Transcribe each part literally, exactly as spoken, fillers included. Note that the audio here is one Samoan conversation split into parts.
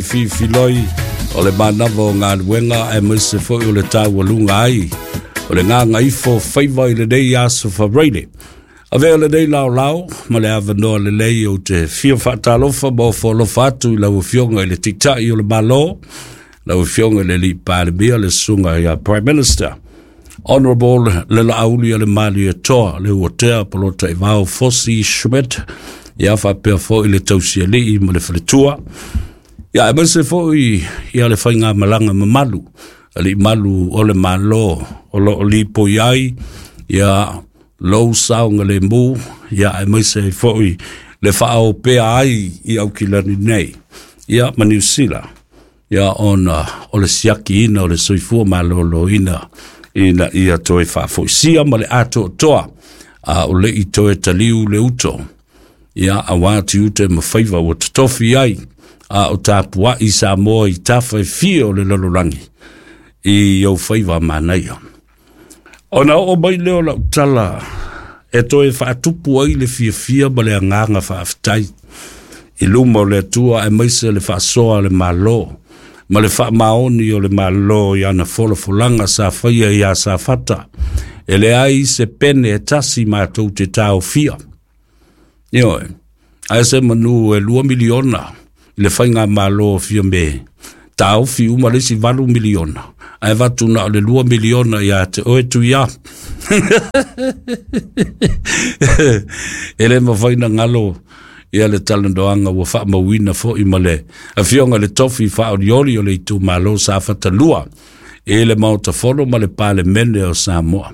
Fifiloi o le manava o galuega aemaise foi o le taualuga ai o le gagaifo faiva i lenei aso Faraile. Avea lenei laolao ma le avanoa lelei ou te fia faatalofa ma ofo alofa atu i lau Afioga i le Taitai o le Malo, lau Afioga i le Alii Palemia, le Susuga ia Prime Minister, Honorable le Laauli o le Malietoa, le Uatea Polataivao Fosi Schmidt, ia faapea foi le Tausialii ma le Faletua, ia aemaise foi ia le faigamalaga mamalu, alii malu o le Malo o lo o lipoi ai ia lou saogalemu, ia aemaise ai foi le faaopea ai i Aukilani nei, ia ma Niu Sila, ia ona o le siakiina o le soifua maloloina ina ia toe faafoisia ma le atoatoa a o le i toe taliu le uto, ia auā tiute ma faiva ua totofi ai a o tapuai Samoa i tafa e fia o le lalolagi i ou faiva manaia. Ona oo mai lea o lau tala e toe faatupu ai le fiafia ma le agaga faafetai i luma o le Atua aemaise le faasoa a le Malo ma le faamaoni o le Malo i ana folafolaga sa faia ia Safata. E leai se pene e tasi matou te taofia. Ioe, ae se manu e lua miliona i le faigamalo o Fiame, taofi uma le isi valu miliona, ae avatu na o le lua miliona ia te oe Tuia. E le mafai na galo ia le talanoaga ua faamauina foi ma le afioga i le tofi faaolioli o le itumalo Safata lua i le Maota Fono ma le Palemene o Samoa.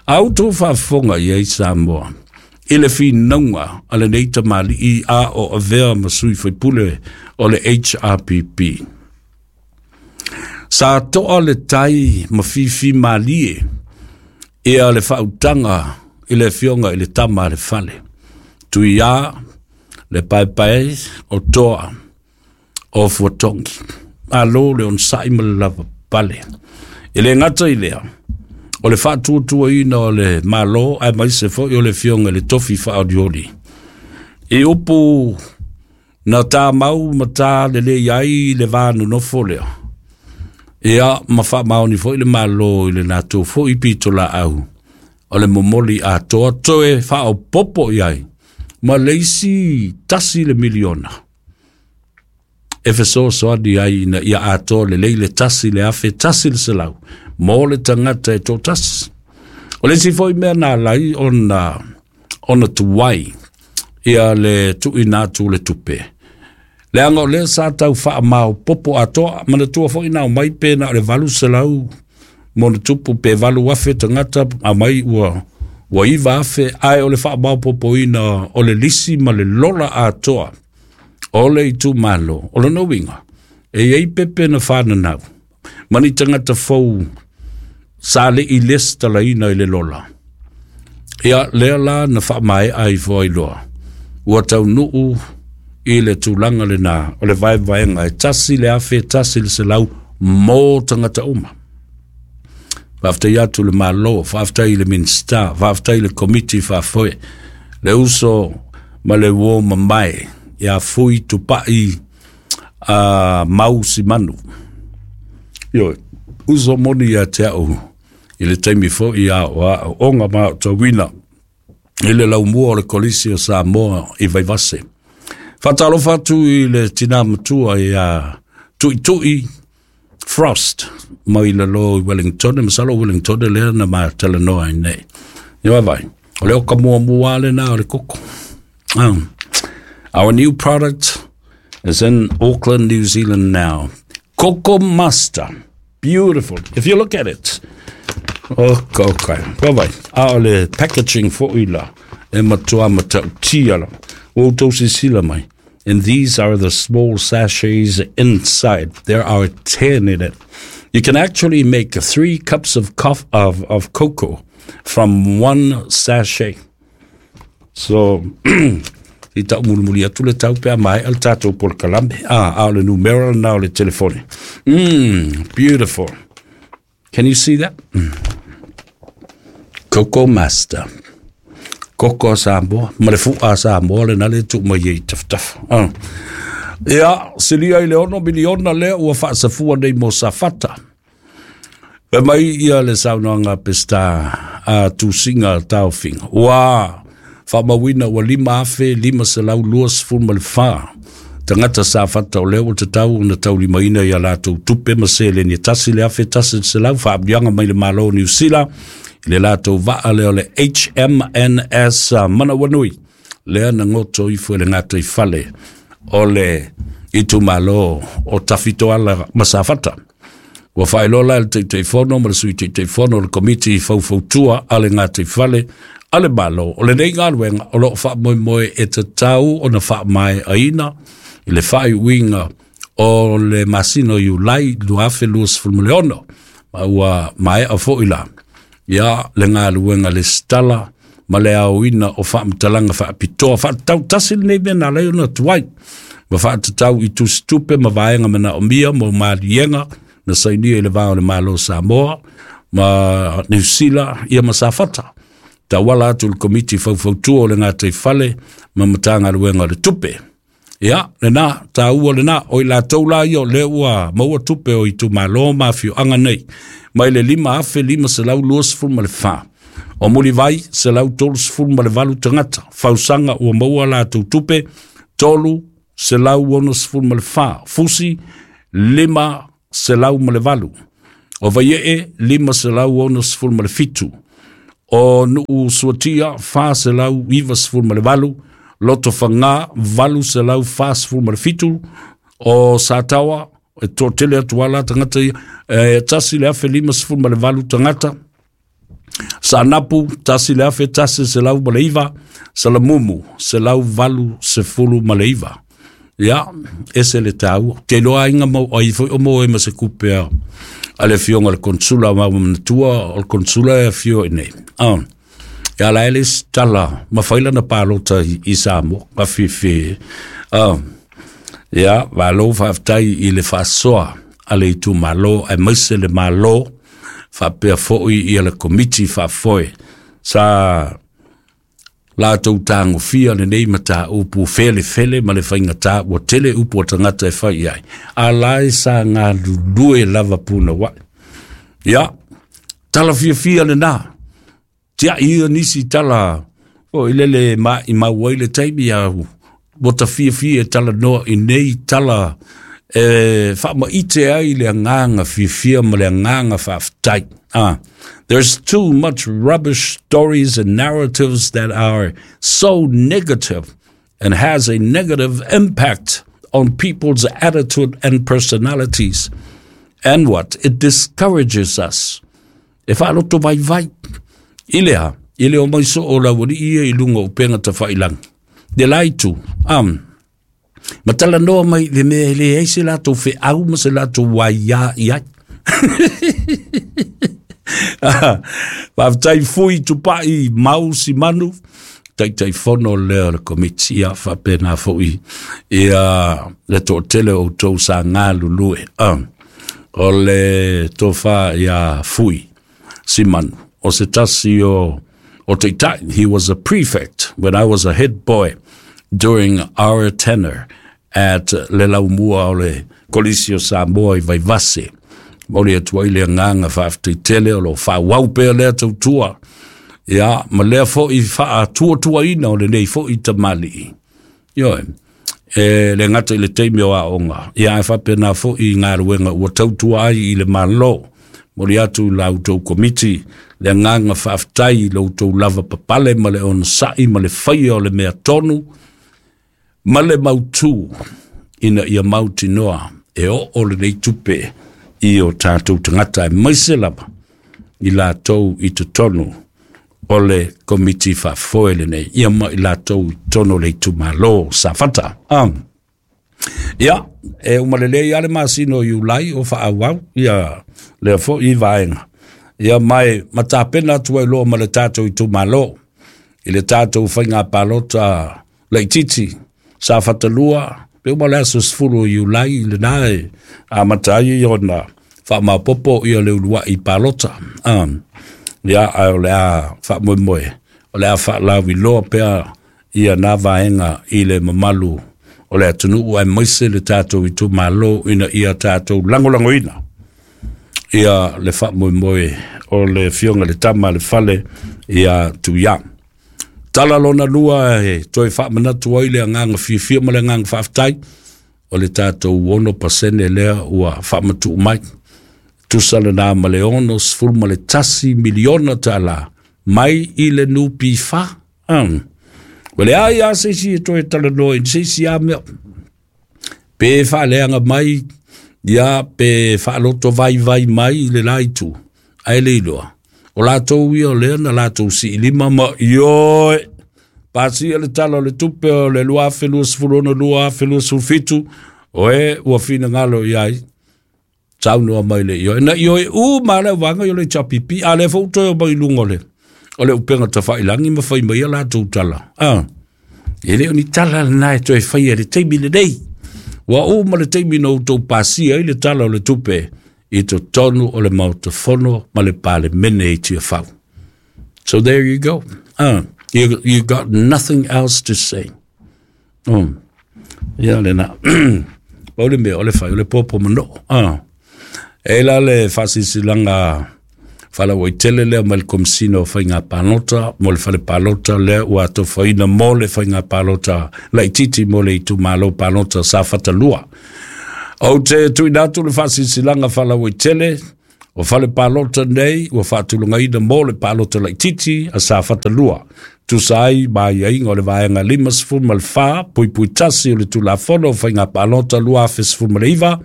A outou faafofoga i ai Samoa i le finauga a lenei tamalii a o avea ma sui faipule o le H R P P. Sa toa le tai ma fifi malie ia le faautaga i le afioga i le tama a le fale. Tuia le paepae o toa o Fuatongi. Malo le onosai ma le lava pale. E le gata i lea, o le faatuatuaina o le Malo aemaise foi o le afioga i le tofi faaolioli. I upu na tāmau ma tā lelei ai le va nonofo lea. Ia ma faamaoni foi le Malo i le latou foi pitolaau o le momoli atoa toe faaopopo i ai ma le isi tasi le miliona. E fesoasoani ai ina ia atoa lelei le tasi le afe tasi le selau mo le tagata e toatasi. O le isi foi mea na alai ona, ona tuai ia le tuuina atu le tupe. Leaga o lea sa tau faamaopopo atoa, manatua foi na aumai pe na o le valu selau mo le tupu pe valu afe tagata aumai ua ua iva afe, ae o le faamaopopoina o le lisi ma le lola atoa o le itumalo. O lona uiga, e iai pepe na whananau, ma ni tagata fou sa le i lesitalaina i le lola. Ia lea la na faamaea ai foi loa. Ua taunuu i le tulaga lena o le vaevaega e tasi le afe tasi le selau mo tagata uma. Faafetai atu le Malo, faafetai i le Minista, faafetai i le Komiti Faafoe, le uso ma le uo mamae ia Fui Tupai a Mau Simanu. Ioe, uso moni ia te au i le taimi foi ia o a onga ma o tauina i le laumua o le Kolisi o Samoa i Vaivase. Faatalofa atu i le tina matua ia Tuitui Frost mai lalo i Wellington, masalo Wellington lea na matalanoa ai nei. Ia vai, o le oka muamua le na o le koko. Um, our new product is in Auckland, New Zealand now. Coco Master. Beautiful. If you look at it. Okay, okay. Vai vai. A o le packaging foi la. E matua matautia la. O outou sisila mai. And these are the small sachets inside. There are ten in it. You can actually make three cups of, cof- of, of cocoa from one sachet. So, i tau mulimuli atu le tau pea mai al tātou polokalame. Ah, a o le numera na o le telefone. Mm, beautiful. Can you see that? Mm. Coco Master. Koko a Samoa, ma le fua a Samoa le na le tu mai ei tafatafa. Ah. Ia, silia i le ono miliona lea ua faasafua nei mo Safata. Fai mai ia le saunoaga a Peseta a Tusiga Taofiga. Ua faamauina ua lima afe lima selau luasefulu ma le fa tagata Safata o lea ua tatau ona taulimaina ia latou tupe ma seleni e tasi le afe tasi selau faamuliaga mai le Malo o Niu Sila i le latou vaa lea o le H M N S Manawanui lea na goto ifo i le gataifale o le itumalo o Tafitoala ma Safata. Ua faailoa la e le Taitaifono ma le Sui Taitaifono o le Komiti Faufautua a le Gataifale a le Malo o lenei galuega o loo faamoemoe e tatau ona faamaeaina i le faaiuiga o le masina o Iulai lua afe luasefulu ma le ono, ma ua maea foi la ia le galuega lesitala ma le aoina o faamatalaga faapitoa faatatau tasi lenei mea na alai ona tuai ma faatatau i tusitupe ma vaega manaomia mo maliega na sainia i le va o le Malo o Samoa ma Niu Sila ia ma Safata. Tauala atu le Komiti Faufautua o le Gataifale ma Matagaluega o le Tupe. Ia, lena, tāua lena, o i latou la ia o lea ua maua tupe o itumalo ma afioaga nei, mai le lima afe lima selau luasefulu ma le fa. O Mulivai, selau tolusefulu ma le valu tagata. Fausaga ua maua latou tupe, tolu selau onosefulu ma le fa. Fusi, lima selau ma le valu. O Vaiee, lima selau onosefulu ma le fitu. O Nuu Suatia, fa selau ivasefulu ma le valu. Loto Fanga, valu selau fasefulu ma le fitu. O Satawa, e toatele atu ala tagata ia, e tasi le afe limasefulu ma le valu tagata. Saanapu, tasi le afe tasi selau ma le iva. Salamumu, selau valu sefulu ma le iva. Ia, ese le tāua. Te loa inga mau ai foi o mo e ma se kupe a, a le fionga le konsula ma manatua o le konsula e fio i nei. Ah. Ia la ele tala ma faila na palota i, i Samoa, ka fifi. Ah. Ia, valo faafetai i le faasoa a le itumalo e maise le malo faapea foi ia le komiti faafoe sa latou tagofia lenei mataupu felefele ma le faigata ua tele upu o tagata e fai ai. A la e sa galulue lava puna wai. Ia, tala fiafia lena. Tia ia nisi tala o i lele ma i mau ai le taimi a ua ta fiafia e tala noa i nei tala e faamaite ai le agaga fiafia ma le agaga faafetai. Ah, there's too much rubbish stories and narratives that are so negative and has a negative impact on people's attitude and personalities. And what? It discourages us. E whaaloto vai vai. Ilea, ile o mai so o lawali ia i lunga o penga ta whailang. De laitu, um, matala noa mai le mea le ei se latou wheau ma se latou waia i ai. Faafetai fui tupai mau si manu, Taitaifono lea o le komiti ia faapena foi ia le toatele o outou sa galulue. Um, o le tofa ia Fui Simanu o se tasi o o taitai. He was a prefect when I was a head boy during our tenure at le laumua o le Kolisi o Samoa i Vaivase. Mauli atu ai le agaga faafetai o lo faauau pea lea tautua. Ia, ma lea foi faatuatuaina o lenei foi tamalii. Ioe, e le gata i le taimi o aoga. Ia, e faapena foi i galuega ua tautua ai i le Malo. Moli atu la outou komiti le agaga faafetai i lo outou lava papale ma le onosai ma le faia o le mea tonu ma le mautū ina ia mautinoa e oo lenei tupe i o tātou tagata e maise lava i latou i totonu o le komiti faafoe lenei ia ma i latou i totonu o le itumalo Safata. Um, ia, e umalelei ia le masina o Iulai o faaauau ia lea foi i vaega. Ia mai matapena atu ai loa ma le tātou itumalo i le tātou faiga palota laitiiti Safata lua, pe uma le aso sefulu o Iulai lena e amata ai ona faamaopoopo ia le uluai palota. Um, ia, ae o le a faamoemoe, o le a faalauiloa pea ia na vaega i le mamalu o le atunuu aemaise le tatou itumalo ina ia tatou lagolagoina ia le faamoemoe o le Afioga i le Tama a le Fale ia Tuia. Tala lona lua e toe faamanatu ai le agaga fiafia ma le agaga faafetai o le tatou ono pasene lea ua faamatuu mai. Tusa lena ma le ono sefulu ma le tasi miliona tala mai i le N P F. Um. Ua leai lava se isi e toe talanoa i se isi lava mea. Pe faaleaga mai, ia pe faaloto vaivai mai i le la itu. Ae le iloa. O latou ia o lea na latou siilima ma ioe. Pasia le tala o le tupe o le lua afe luasefulu ono lua afe luasefulu fitu. Oe ua finagalo i ai. Saunoa mai le ioe. Na ioe u ma le vaega i o le H P P. A le fou toe o mai lunga o le o le upega tafailangi ma fai mai a latou tala. Ah. E le o ni tala lena e toe faia le taimi lenei. Ua uma le taimi na outou pasia ai le tala o le tupe i totonu o le Maota Fono ma le Palemene i Tiafau. So there you go. Ah, you, you got nothing else to say. Mm. Ia lena. Pau le mea o le fai o le popo manoo. Ah. E la le faasisilanga falauaitele lea mai le Komisina o Faiga Palota mo le fale palota lea ua atofaina mo le faiga palota laitiiti mo le itumalo palota Safata lua. Ou te tuuina atu le faasisilanga falauaitele o fale palota nei ua faatulagaina mo le palota laitiiti a Safata lua. Tusa ai ma aiaiga o le vaega limasefulu ma le fa puipui tasi o le Tulafono o Faiga Palota lua afe sefulu ma le iva,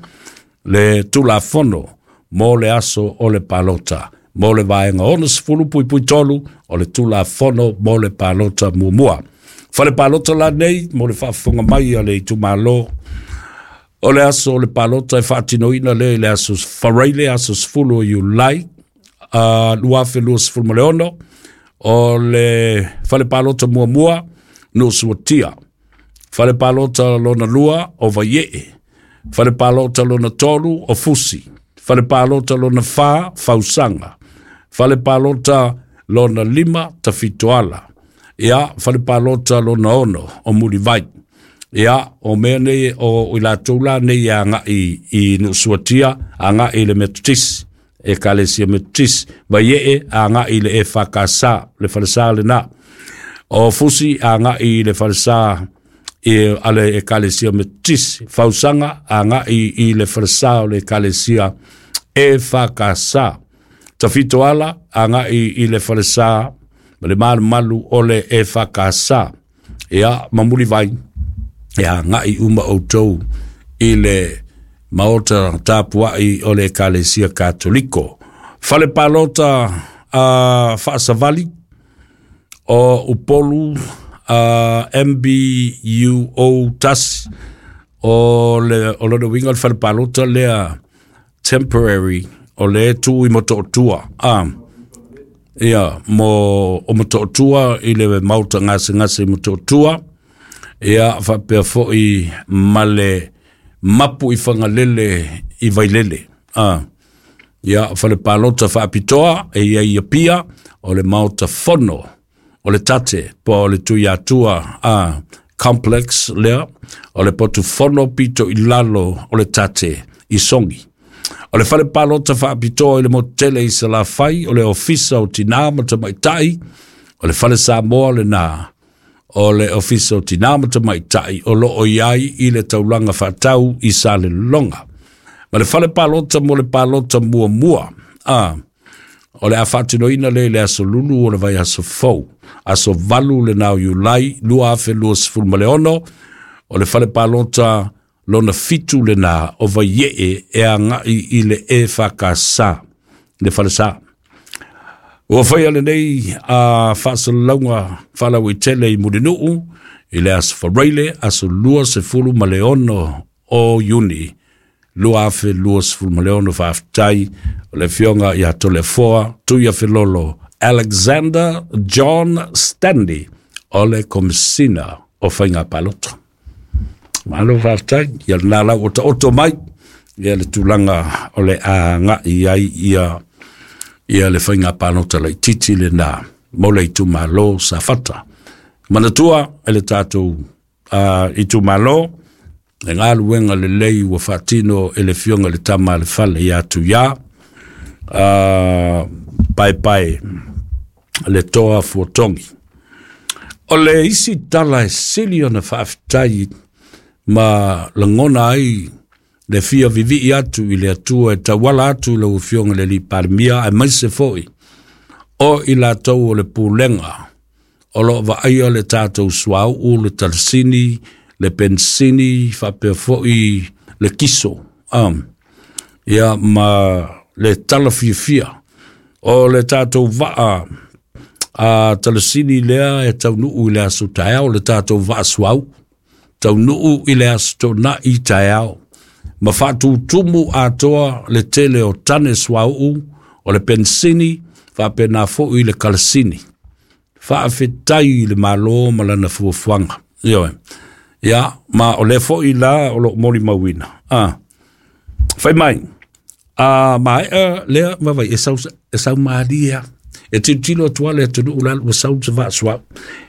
le Tulafono mo le aso o le palota. Mo le vaega ono sefulu puipui tolu o le Tulafono mo le palota muamua. Fale palota la nei mo le faafofoga mai a le itumalo o le aso o le palota e faatinoina lea i le aso Faraile, aso sefulu o Iulai uh, lua afe luasefulu ma le ono. O le fale palota muamua Nuusuatia. Fale palota lona lua o Vaiee. Fale palota lona tolu o Fusi. Fale palota lona fa Fausaga. Fale palota lona lima Tafitoala. Ia fale palota lona ono o Mulivai. Ia o mea nei o i latou la nei agai i Nuusuatia, agai i le Metotisi, Ekalesia Metotisi. Vaiee agai i le E F K S, le falesa lena. O Fusi agai i le falesa i ale Ekalesia Metotisi. Fausaga agai i le falesa o le Ekalesia E F K S. Tafitoala agai i le falesa ma le malumalu o le E F K S. Ia mamulivai ia agai uma outou i le maota tapuai o le Ekalesia Katoliko. Fale palota a uh, faasavali o Upolu uh, M B U O tasi o le o lona uiga o le fale palota lea temporary o le tu i Motootua. Ah, ia mo o Motootua i le maota gasegase i Motootua. Ia faapea foi ma le mapu i Fagalele i Vailele. Ah, ia fale palota faapitoa e ia ia pia o le maota fono o le tate po o le Tuiatua ah, complex lea o le potu fono pito i lalo o le tate i Songi. O le fale palota faapitoa i le motele i Salafai o le ofisa o Tinā ma Tamaitai o le fale Samoa lena o le ofisa o Tinā ma Tamaitai o loo i ai i le taulaga faatau i Salelologa. Ma le fale palota mo le palota muamua ah, o le a faatinoina le le aso lulu o le vai aso fou aso valu lena o Iulai lua afe luasefulu ma le ono o le fale palota lona fitu lena o Vaiee e agai i le E F K S le falesa. Ua faia lenei a faasalalauga faalauaitele i Mulinuu i le aso Faraile aso luasefulu ma le ono o Iuni lua afe luasefulu ma le ono. Faafetai o le Afioga ia Toleafoa Tuiafelolo Alexander John Stanley o le Komisina o Faiga Palota. Malo faafetai ia lena lau o taoto mai ia le tulaga o le agai ai ia ia le faiga palota laitiiti lena mo le itumalo Safata. Manatua e le tatou uh, itumalo Le galuega lelei ua faatino e le Afioga i le Tama a le Fale ia Tuiā Paepae le Toa Fuatogi. O le isi tala e sili ona faafetai ma lagona ai le fia vivii atu i le Atua e tauala atu i lau Afioga i le Alii Palemia, aemaise foi o i latou o le Pulega o loo vaaia le tatou suauu, le talasini, le penisini, faapea foi le kiso, um, ia ma le tala fiafia o le tatou vaa a talasini lea e taunuu i le aso taeao, le tatou vaa suauu taunuu i le aso Toonai taeao, ma faatutumu atoa le tele o tane suauu o le penisini faapena foi le kalasini. Faafetai i le Malo ma lana fuafuaga. Ioe. Ia, ma o lea foi la o loo molimauina. Ah. Fai mai, a maea lea vavai e sau, e sau malie. E tilotilo atu le atunuu la ua sau se vaa suauu.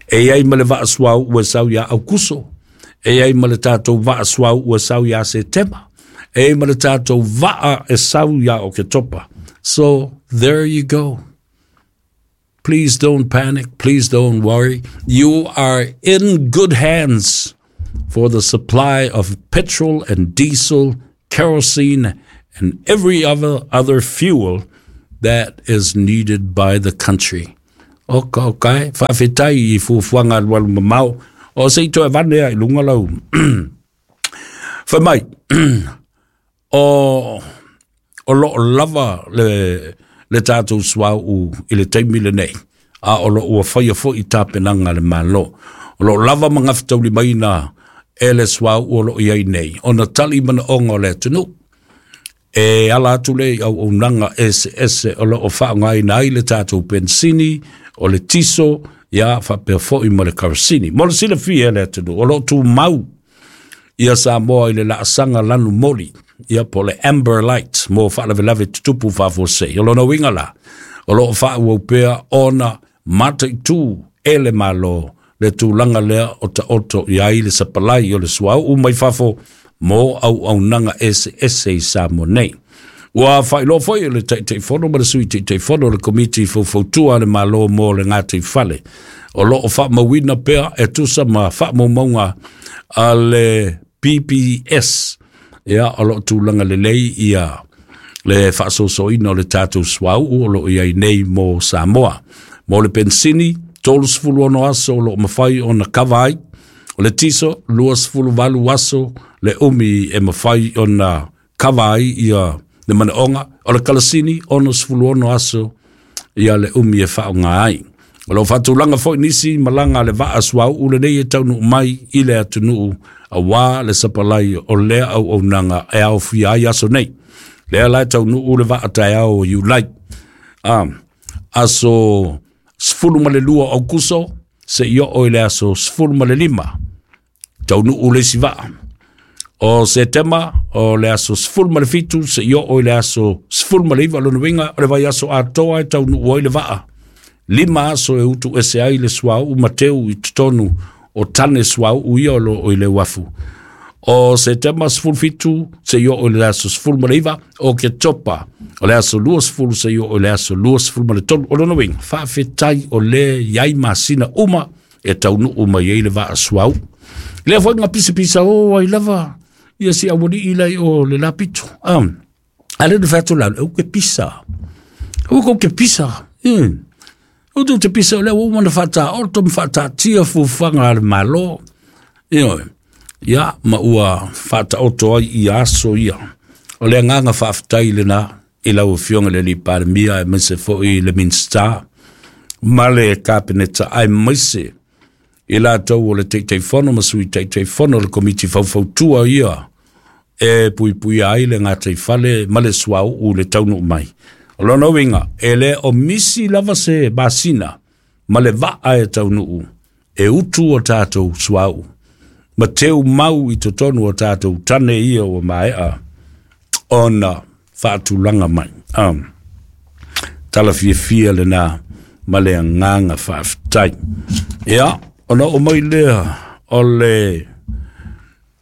E i ai ma le vaa suauu ua sau ia Aukuso. E i ai ma le tatou vaa suauu ua sau ia Setema. E i ai ma le tatou vaa e sau ia Oketopa. So, there you go. Please don't panic. Please don't worry. You are in good hands for the supply of petrol and diesel, kerosene, and every other, other fuel that is needed by the country. Oka, okay. Faafetai i fuafuaga alualu mamao. O se i toe vane ai lunga lau. Fai mai, o, o loo lava le, le tatou suauu i le taimi lenei, a o loo ua faia foi tapenaga a le Malo. O loo lava ma gafataulimaina e le suauu o loo i ai nei, ona tali manaoga o le atunuu. E ala atu le i auaunaga eseese o loo faaaogaina ai le tatou penisini, o le tiso, ia faapea foi ma le karasini. Mo le silafia e le atunuu, o loo tumau ia Samoa i le laasaga lanu moli, ia po le amber light mo faalavelave tutupu faafuasei. O lona uiga la, o loo faaauau pea ona mataitu e le Malo le tulaga lea o taoto i ai le sapalai o le suauu mai fafo mo auaunaga eseese i Samoa nei. Ua faailoa foi e le Taitaifono ma le Sui Taitaifono o le Komiti Faufautua a le Malo mo le Gataifale, o loo faamauina pea e tusa ma faamaumauga a le P P S, ia o loo tulaga lelei ia le faasoasoaina o le tatou suauu o loo i ai nei mo Samoa. Mo le penisini, tolusefulu ono aso o loo mafai ona kava ai, o le tiso, luasefulu valu aso le umi e mafai ona kava ai ia le manaoga, o le kalasini, onosefulu ono aso ia le umi e faaaoga ai. O loo faatulaga foi nisi malaga a le vaa suauu lenei e taunuu mai i le atunuu auā le sapalai o lea auaunaga e aofia ai aso nei. Lea la e taunuu le vaa taeao o Iulai. Um, aso sefulu ma le lua o Aukuso, seia oo i le aso sefulu ma le lima, taunuu le isi vaa. O Setema, o le aso sefulu ma le fitu, seia oo i le aso sefulu ma le iva, lona uiga, o le vaiaso atoa e taunuu ai le vaa. Lima aso e utu ese ai le suauu ma teu i totonu o tane suauu ia o loo i le uafu. O Setema sefulu fitu, seia oo i le aso sefulu ma le iva, o Oketopa, o le aso luasefulu seia oo i le aso luasefulu ma le tolu. O lona uiga, faafetai o le iai masina uma e taunuu mai ai le vaa suauu. Lea foi nga pisapisa o ai lava, ia si awalii lai o le lapito. Um, ale le fatu lau, au ke pisa. Au ke pisa. Mm. O tu te pisa o lea ua mana whata oto ma whata tia fuafuaga a le Malo. Ioe. Ia, ma ua whata oto ai i aso ia. O le agaga faafetai lena i lau Afioga i le Alii Palemia aemaise foi le Minisita ma le Kapeneta, aemaise i latou o le Taitaifono ma Sui Taitaifono o le Komiti Faufautua ia e puipuia ai le gataifale ma le suauu le taunuu mai. O lona uiga, e le o misi lava se masina ma le vaa e taunuu e utu o tatou suauu ma teu mau i totonu o tatou tane ia ua maea ona faatulaga mai. Um, tala fiafia lena ma le agaga faafetai. Ia, ona oo mai lea o le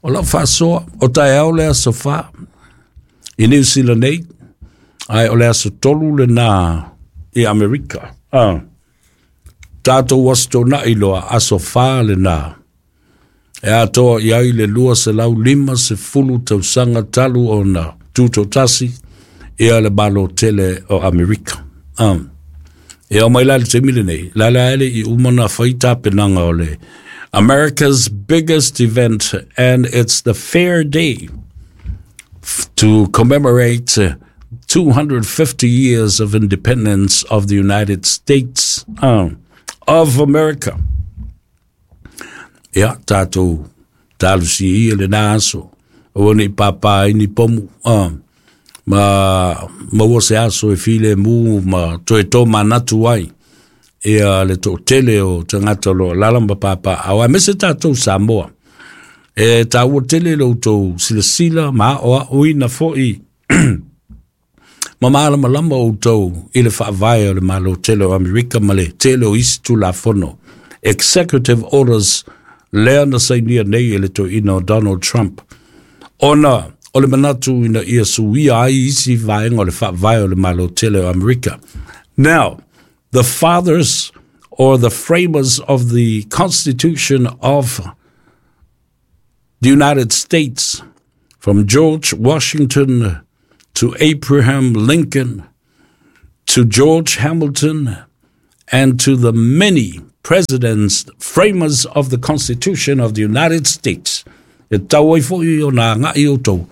O lau faasoa o taeao le aso fā i Niu Sila nei, ae o le aso tolu lenā i Amerika. Ah. Tatou aso tona'i loa, aso fā lenā e atoa i ai le lua selau lima sefulu tausaga talu ona tutotasi ia le Malo tele o Amerika. Um. E o mai la le taimi lenei, la la ele i uma na fai tapenaga o le America's biggest event, and it's the Fair Day to commemorate two hundred fifty years of independence of the United States um, of America. Ia, tātou talusi ia le nā aso, o nei pāpā ini pomu, um, ma maua se aso e file mu ma toe tō manatu ai, ia le tō tele o tangata lo lala ma pāpā, au a mese tātou Samoa. E tāua tele lo tō silasila ma o a uina foi ma malama lama o tō i le whaavae o le malo tele o Amerika ma le tele o isi tulafono. Executive orders lea na sainia nei e le toeaina o Donald Trump. Ona o le manatu ina ia suia ai isi vaega o le faavae o le malo tele o Amerika. Now, the fathers or the framers of the Constitution of the United States, from George Washington to Abraham Lincoln, to George Hamilton, and to the many presidents, framers of the Constitution of the United States. E tau ai foi o nā ngai o tau.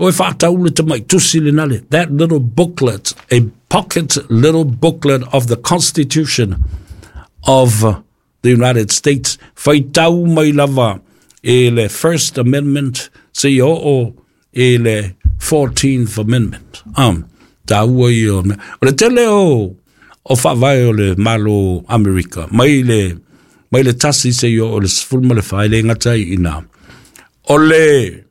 O e whātau le tamai tusi le nale. That little booklet, a pocket little booklet of the Constitution of the United States. Whai tau mai lava e le First Amendment, se i o e le fourteenth Amendment. Um, tāua i o. O le tele o, o whaavae o le malo Amerika. Mai le, mai le tasi se i o le sefulu ma le fa le ngata i ina. O le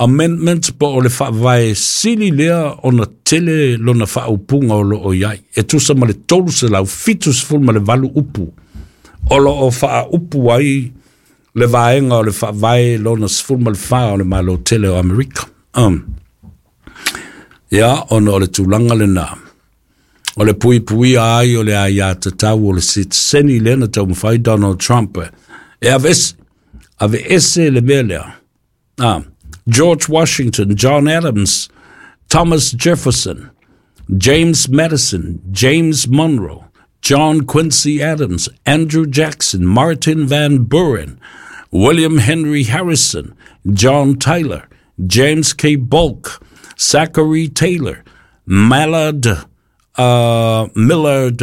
amendment po o le whaavae sili lea o na tele lona whaaupunga o lo o iai. E tusa ma le tolu se lau fitu sefulu ma le valu upu. O lo o whaaupu ai le vaenga o le whaavae lona sefulu ma le wha o le malo tele o Amerika. Um. Ia, ona o le tūlanga le nā. O le pui pui ai o le ai a tatau o le sitseni lea na taumafai Donald Trump. E ave ese, ave ese le mea lea. Ah, George Washington, John Adams, Thomas Jefferson, James Madison, James Monroe, John Quincy Adams, Andrew Jackson, Martin Van Buren, William Henry Harrison, John Tyler, James K. Polk, Zachary Taylor, Mallard, uh, Millard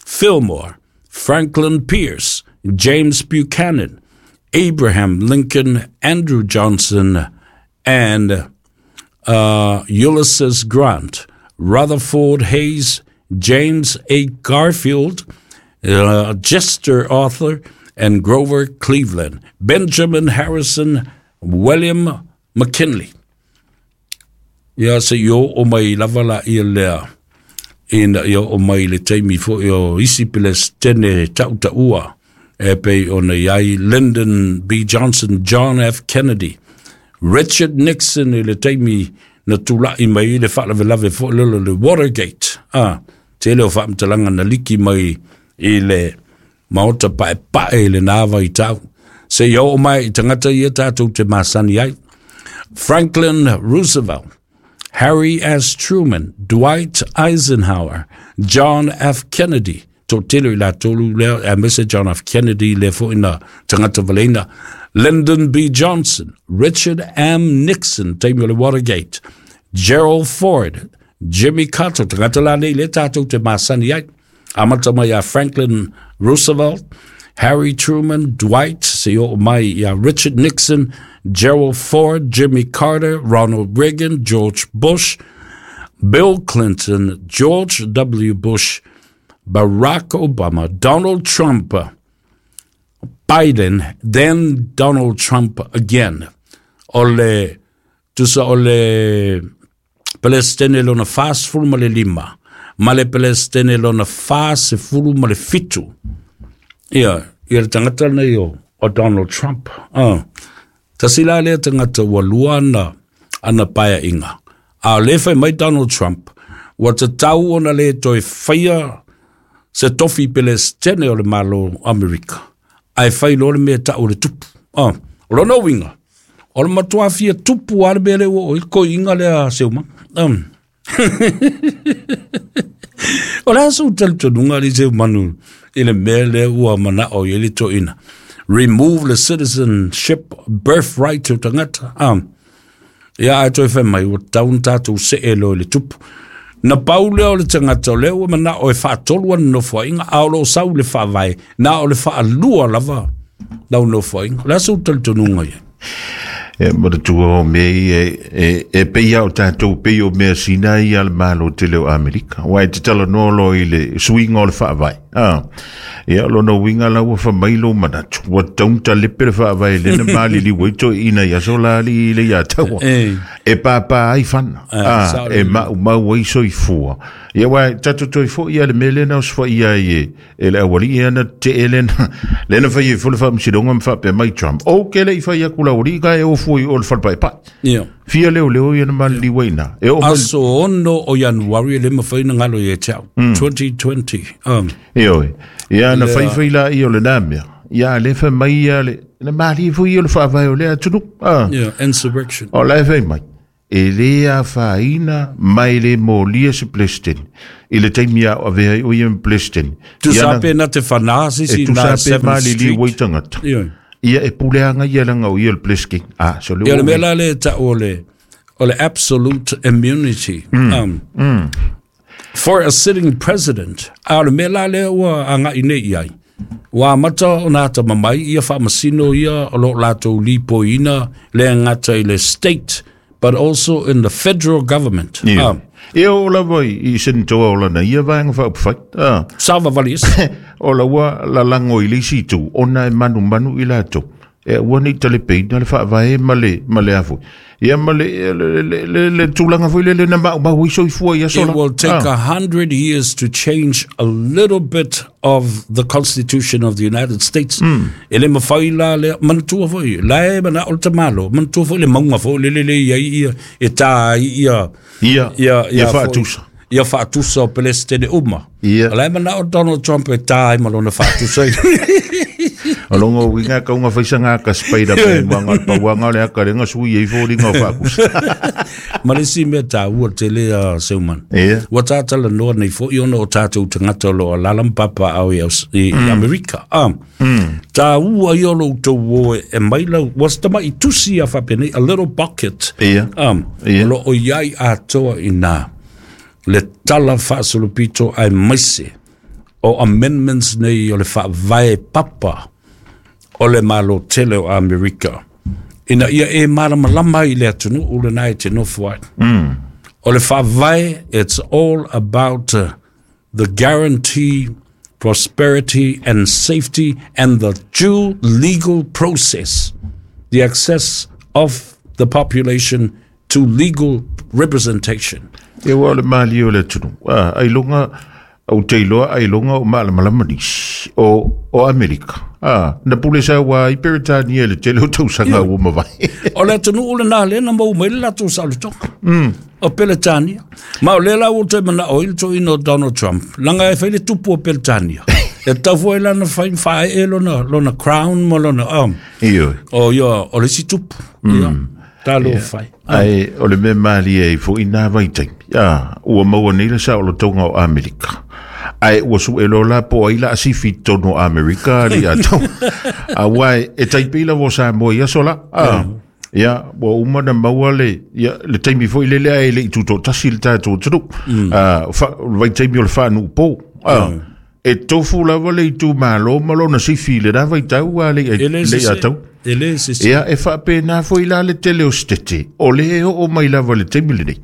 Fillmore, Franklin Pierce, James Buchanan, Abraham Lincoln, Andrew Johnson, and uh, Ulysses Grant, Rutherford Hayes, James A. Garfield, uh, Chester Arthur, and Grover Cleveland, Benjamin Harrison, William McKinley. Ia se i o mai lava la ia lea, ina ia o mai le taimi foi o isi pelestene tautaua, e pei ona iai Lyndon B. Johnson, John F. Kennedy, Richard Nixon i le taimi na tula'i mai le faalavelave foi lele le Watergate. Ah, tele o faamatalaga na liki mai i le maota paepae i le nā vaitau. Se i oo mai i tagata ia tatou te masani ai. Franklin Roosevelt, Harry S. Truman, Dwight Eisenhower, John F. Kennedy, toatele i latolu lea, aemaise John F. Kennedy le foi na tagata valeina, Lyndon B. Johnson, Richard M. Nixon, taimi o le Watergate, Gerald Ford, Jimmy Carter, tagata lanei le tatou te masani ai, amata mai a Franklin Roosevelt, Harry Truman, Dwight, se oo mai ia Richard Nixon, Gerald Ford, Jimmy Carter, Ronald Reagan, George Bush, Bill Clinton, George W. Bush, Barack Obama, Donald Trump, Biden, then Donald Trump again. O le, tusa o le Pelestene lona fasefulu ma le lima, ma le Pelestene lona fasefulu ma le fitu. Ia, ia le tagata lenei o, o Donald Trump. Ah, Tasi la lea tagata ua lua ana ana paeaiga. A o lē fai mai Donald Trump, ua tatau ona lē toe faia se tofi pelesitene o le Malo Amerika, ae fai loa le mea ta'u le tupu. Ah, o lona uiga, o le matuā fia tupu a le mea lea ua oo i le koi'iga lea seumaga. Um. O le aso talitonuga ali Seumanu i le mea lea ua mana'o i ai le toeaina. Remove the citizenship birthright o tagata. Um. Ia ae toe fai mai, ua tatau ona tatou se'e loa i le tupu. Na pau lea o le tagata o lea ua mana'o e fa'atolu ana nofoa'iga, a o loo sau le faavae, na o le fa'alua lava lau nofoa'iga. O le aso talitonuga ia. E manatua o mea ia e, e pei o tatou pei o mea sina ia le Malo tele o Amerika. Ua e te talanoa loa i le suiga o le faavae. Ah. Ia lona uiga la ua famai lou manatu. Ua tatau ona talepe le faavae lena maliliu ai toeaiina i aso la alii i le ia taua. E. E pāpā ai fana. Ah, Ah, sao e lelei. maumau ai soifua. Ia ua tatou toe foi ia le mea lena o sofaia ai e, e le aualii ana te lena. Lena fai ai foi le faamasinoga ma faapea mai Trump. O ke le i fai aku la aualii ka e ofu i o le falepaepae. Ia. Fia leo leo ia na maliliu ai na. E oo mai Aso ono o Ianuari e le mafai ona galo ia te au. twenty twenty. Um, Ioe. Ia na Lea- faifai la ia o le nā mea. Ia le fai mai ia le na malie foi ia o le faavae o le atunuu. Ah. Yeah, insurrection. O la e fai mai. E le afaina mai le molia se President. I le taimi a o avea ai o ia ma President. Tusa pe na te whanā E sisi na tusa pe seventh malili Street. ua i tangata. Ia. Ia e puleanga ia langa o ia le President. Ah, so le Ia le o mea la le ta'u o le o le absolute immunity. Um, For a sitting president, a o le mea la lea ua aga'i nei i ai. Ua amata ona atamamai ia faamasino ia o loo latou lipoiina le gata i le state, but also in the federal government. Ia. Um, Ia o lava i, i senitoa o lana ia vaenga whaupawhai. Ah. Savavali isi. O la ua la lango i le isi itu, ona e manumanu i latou. E ua nei talepeina le faavae ma le, ma le afoi. Ia ma le, le, le, le, le tulaga foi le le na maumau i soifua i aso It la. will take Ah. a hundred years to change a little bit of the Constitution of the United States. E le mawhai la le manatua foi, la e mana o le tamalo, manatua foi le maunga foi, le le le ia ia, e tā ai ia, Ia, ia, ia foi- faatusa. Ia faatusa o Pelestene uma. Ia. La e mana o Donald Trump e tā ai ma lona faatusa. O longo winga kaunga faisanga ka Spider-Man wanga pa wanga le aka lenga sui e fo linga o faakusa. Ma le isi mea tāua tele a Seuman. Ia. Ua tātalanoa nei foi ona o tātou tagata o loo alaala ma papaao i, Aus- i mm. Amerika. Ah. Mm. Tāua ia o lo outou o e, e mai lau, ua se tama'i tusi a faapenei, a little bucket. Ia. Um, Ia. O loo i ai atoa i nā le tala faasolopito aemaise o amendments nei o le faavae papa o le Malo tele o Amerika. Ina ia e malamalama i le atunuu lenā e te nofo ai. Mm. O le faavae, it's all about uh, the guarantee, prosperity and safety and the due legal process, the access of the population to legal representation. Ia ua o le malie o le atunuu. Ah, ai longa au te iloa ai longa o malamalama nisi o, o Amerika. Ah, na pule sa ua i Peretania le tele o tausaga ua mavae. O le atunuu lenā lea na mau mai le latou saolotoga. Mm. O Peletania. Ma o lea la ua toe mana'o ai le toeaina o Donald Trump. Laga e fai le tupu o Peletania. E tatau foi lana fai faaee lona, lona crown ma lona um, Ioe. o ia o le isi tupu. Mm. Ia, talo fai. Ai, o le mea malie ai foi nā vaitaimi. Ah, ua maua nei le saolotoga o Amerika. Ai, ua su e lola po ai la asifi tonu o Amerika li a tau. A wai, e taipei la vo sa mo ia sola. Ah, ia, ua uma na maua le, ia, le taimi foi le lea e le i tuto tasi le tātou tunu. Ah, fa, vaitaimi o le whānu pō. Ah, e tofu lava le itu malo ma lona sifi le nā vaitau a le, E le le se a tau. E le se se. Ia e faapena foi la le tele o setete, o le e oo mai lava le taimi lenei.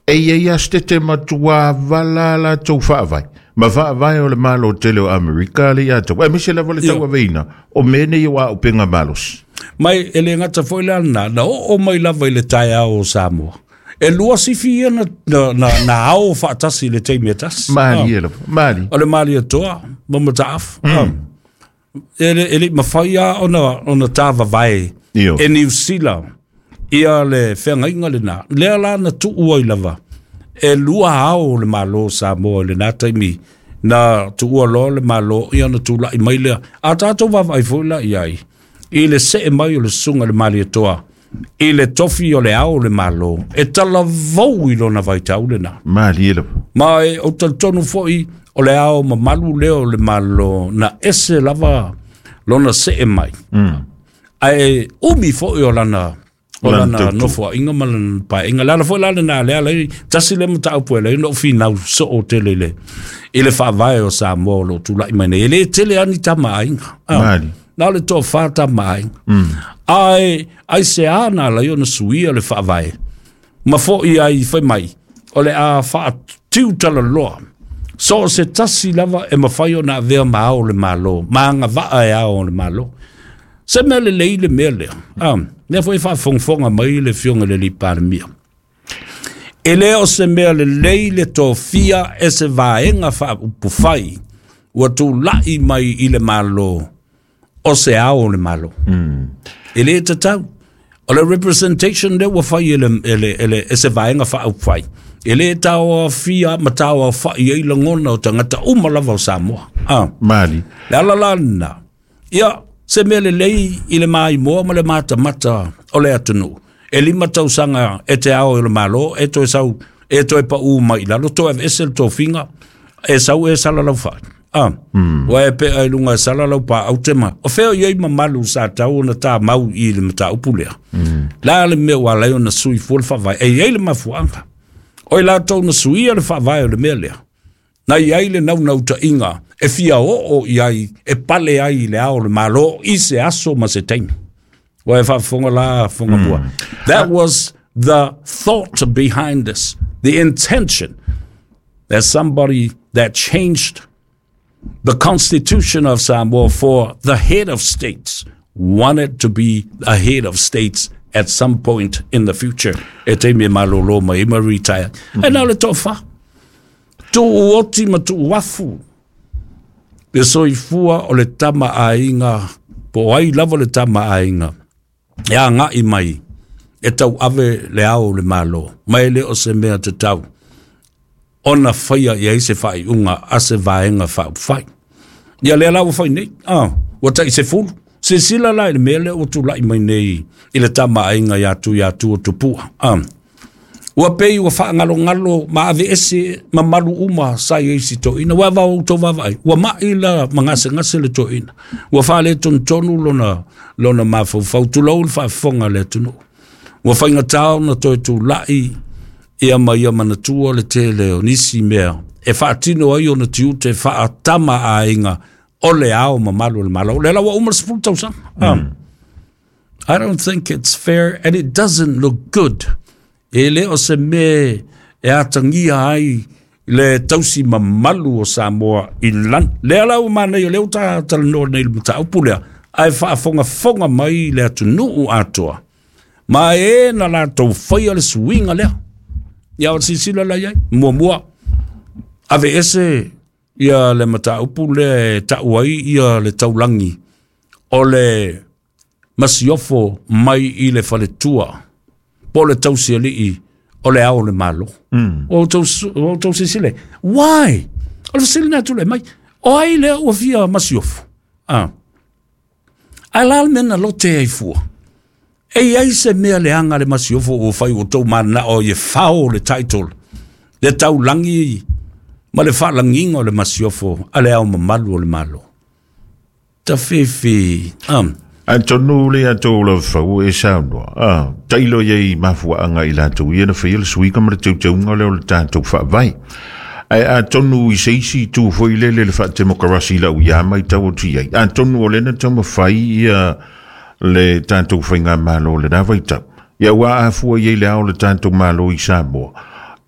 E ia ia setete matua vala latou faavae. Ma faavae o le Malo tele o Amerika le ia tau. E mise lava le tau aveina, o mea nei o aupenga malosi. Mai e le gata foi la na, na oo mai lava i le taeao o Samoa. E lua sifi ia na, na, na, na ao faatasi i le taimi e tasi. Mali e lava, mali. O le mali atoa, ma mataafu. Mm. E le, e le mawhai a ona, ona tāvavae E Niu Sila ia le feagaiga lenā lea la na tu'u ai lava e lua ao o le Malo Samoa i lenā taimi na tu'ua loa le Malo ia na tula'i mai lea a tatou vaavaai foi la i ai i le se'e mai o le susuga le Malietoa i le tofi o le ao o le Malo e talavou i lona vaitau lenā. Malie lava. Ma e ou talitonu fo'i o le ao mamalu lea o le Malo na ese lava lona se'e mai. Mm. Ae umi fo'i o lana o Lana lana tautua. nofoa'iga ma lana pae'iga le ala fo'i la lenā lea lai tasi le mataupu e lai ona ou finau so'o tele i le i le faavae o Samoa o lo'o tula'i mai nei e lē tele ani tama aiga. Ah, Mali. na o le toafā tama aiga ae aiseā na alai ona suia le faavae ma fo'i ai fai mai o le a fa'atiu talaloa so o se tasi lava e mafai ona avea ma ao o le Malo ma agava'a e ao o le Malo se mea lelei le mea lea. Ah, lea foi faafogafoga mai le afioga i le alii Palemia e lē o se mea lelei le tofia e se vaega faaupufai ua tula'i mai i le Malo o se ao o le Malo e lē tatau o le representation lea ua fai e le, e le, e le, e se vaega faaupufai e lē taoafia ma taoafa'i ai lagona o tagata uma lava o Samoa. Ah, Mali. le ala la lenā ia se mea lelei i le maimoa ma le matamata o le atunuu e lima tausaga e te ao i le Malo e toe sau e toe pa'ū mai i lalo toe aveese le tofiga e sau e salalau fa'i. Ah, ua e pe'a i luga e salalau paau tema o fea o iai mamalu sa tau ona tamau i le mataupu lea la le mea ua alai ona sui fua le faavae e iai le mafuaaga o i latou na suia le faavae o le mea lea na iai le naunauta'iga e fia o'o i ai e pale ai i le ao o le Malo i se aso ma se taimi ua e faafofoga la foga mua. That was the thought behind this, the intention that somebody that changed the constitution of Samoa for the head of states wanted to be a head of states at some point in the future. E taimi e malōlō mai ma retire. E na o le toafā. Tu'u oti ma tu'u afu. Le soifua o le tama aiga, po ai lava le tama aiga. E aga'i mai e tau ave le ao o le Malo. Mai le o se mea tatau. Ona faia i ai se faaiuga a se vaega faaupufai. Ia lea la ua fai nei. Ah, ua ta'i se fulu. Silasila la i le mea lea ua tula'i mai nei i le tama aiga iā tu iā tu o tupua. Ah. Ua pei ua faagalogalo ma ave ese mamalu uma sa i ai si to'ina. Ua vao outou vaavaai. Ua ma'i la ma gasegase le to'ina. Ua faaletonu lona, lona mafaufau. Tulou le faafofoga a le atunuu. Ua faigatā ona toe tula'i ia ma ia manatua le tele o nisi mea e faatino ai ona tiute faatama aiga o le ao mamalu o le Malo. Le la ua uma le sefulu tausaga. Mm. I don't think it's fair and it doesn't look good. E le o se me e atagia ai le tausi mamalu o Samoa i lan. Lea la ua manai o lea ua ta talanoa nei le mataupu lea, ae faafogafoga mai le atunuu atoa. Ma e na latou faia le suiga lea. Ia o le silasila la i ai. Muamua, ave ese ia le mataupu lea e ta'u ai ia le taulagi o le masiofo mai i le faletua po o le tausiali'i o le ao o le Malo. Mm. O outou o outou silasila. Why? O le fesili na tula'i mai. O ai lea ua fia masiofo? Ah. Ae la le mea na lote ai fua. E iai se mea leaga le masiofo ua fai ua tou manana'o i e fao le title. Le taulagi ma le faalagiga o le masiofo a le ao mamalu o le Malo. Ta fefe. Um, Atonu le atou la fau e saunoa. Ah, tailo iai mafuaanga i latou ia na faia le suiga ma le teuteuga lea o le tatou faavae. Ae atonu i se isi itu foi lele le faatemokarasi lau ia mai tau atu i ai. Atonu o lena taumafai ia le tatou faigamalo le na vaitau. Ia ua afua i ai le ao le tatou Malo i Samoa.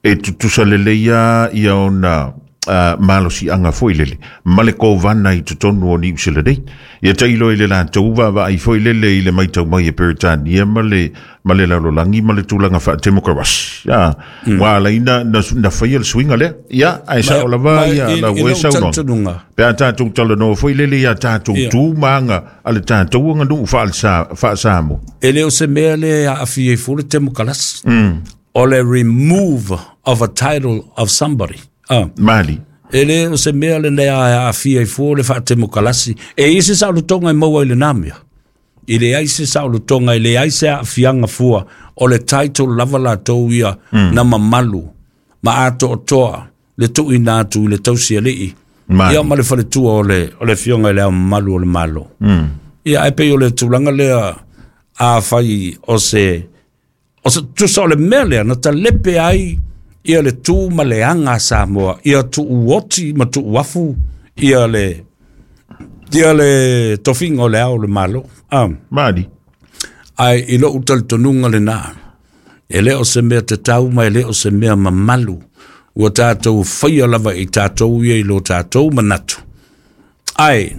E tutusa lelei lava ia ona uh, malosiaga foi lele ma le kovana i totonu o Niusila nei. Ia tailo i le latou vaavaai foi lele i le maitau mai e Peretania ma le ma le lalolagi ma le tulaga faatemokarasi a ua alaina na, na faia le suiga lea ia ae sao lava ia lau e saunoaga pe a tatou talanoa foi lele ia tatou tu ma aga a le tatou aganuu faasamo. E le o se mea le aafia ai fua le temokarasi o le remove of a title of somebody. Ah. Mali. E le o se mea le lea aafia ai fua le faatemokalasi. E i se saolotoga e maua i le namea. I le ai se saolotoga, i le ai se aafiaga fua o le title lava latou ia mm. na mamalu ma atoatoa le tuuina atu i le tausialii. Ia ma le faletua o le, o le fioga i le ao mamalu o le malo. Mm. Ia ai pei o le tulaga lea a fai o se, o se tusa o le mea lea na talepe ai ia le tu ma le aga Samoa, ia tuuoti ma tuuafu, ia le, ia le tofiga o le ao o le malo. Ah. Mali. Ai i lou talitonuga lena, e le o se mea tatau ma e le o se mea mamalu, ua tatou faia lava i tatou ia i lo tatou manatu. Ai,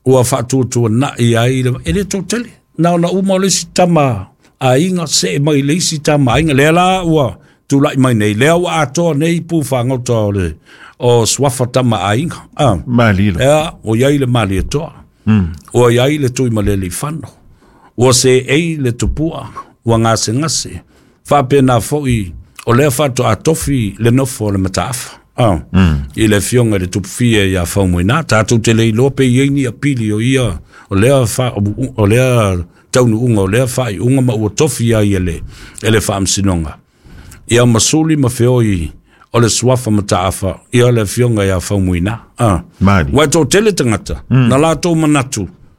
ua faatuatuanai ai, e le totele, na ona uma o le isi tama aiga, see mai le isi tama aiga, lea la ua tulai mai nei, lea ua atoa nei pu whangota o le o suafa tama aiga. Ah. Mali la. Ea, o iai le mali atoa. Mm. Ua iai le tui malele whano. Ua se ei le tupua, ua ngase ngase. Whapena foi, o lea whato atofi le nofo o le mataafa. Ah. Mm. I le fionga le tupufia ia whaumoina. Tātou te leiloa pe iei ni apili o ia, o lea, wha, o lea taunu unga, o lea whai unga ma ua tofi ai ele, ele whaamsinonga. Ia masuli ma feoi o le suafa mataafa ia le fionga ia faumuina. Ah. Mali. Wa tō tele tangata, mm. na lātou manatu,